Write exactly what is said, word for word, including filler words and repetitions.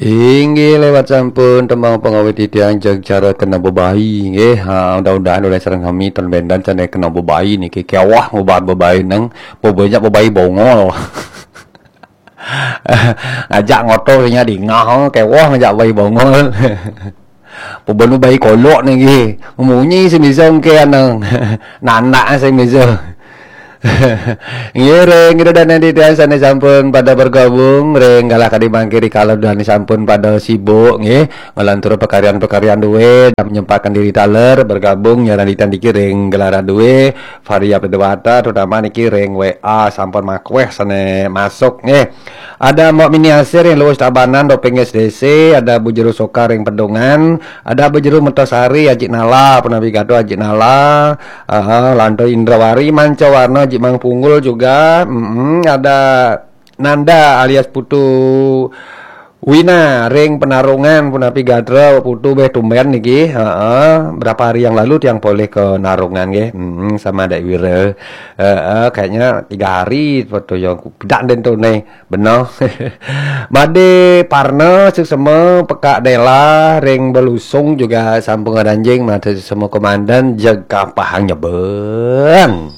Inggih lewat sampun tembang pengawit titiang jeg cara kena bebayi nggih. Ha, mudah-mudahan oleh sareng sami ten bendan sane kena bebayi niki kewah ngubar bebayi nang bebanyak bebayi bongol. Ngajak ngotor nya dingah kewah ngajak bebayi bongol. Pebenu bayi kolok niki. Munyi sing bisa engke anang. Nanak sing bisa. Ngiring kita dan nanti tiang sane sampun pada bergabung ring galah kadi mangkiri kalau dan sampun pada sibuk nggih ngelantur pekarian-pekarian duwe dan menyempatkan diri taler bergabung nyaran ditan diki ring galah duwe Varia Pedewata terutama niki ring W A sampun makweh sane masuk nggih. Ada Mbok Mini Asir yang luwes Tabanan doping S D C, ada Bu Jero Soka ring Pedungan, ada Bu Jero Metasari Ajik Nala, Penawi Gato Ajik Nala, Aha, Lanto Indrawari, Manca Warna, Jik Mang Punggul juga. Mm-mm, ada Nanda alias Putu Wina ring Penarungan, punapi gatra Putu beh tumben niki. Heeh, berapa hari yang lalu tiang polih ke Narungan nggih. Mm-mm, sama Dek Wira. Heeh, kayaknya tiga hari foto yang pidak den tu nih. Benar. Made Parna suksema Pekak Dela ring Belusung juga sampun ngadanjing mate suksema komandan jeg kapahang nyeben.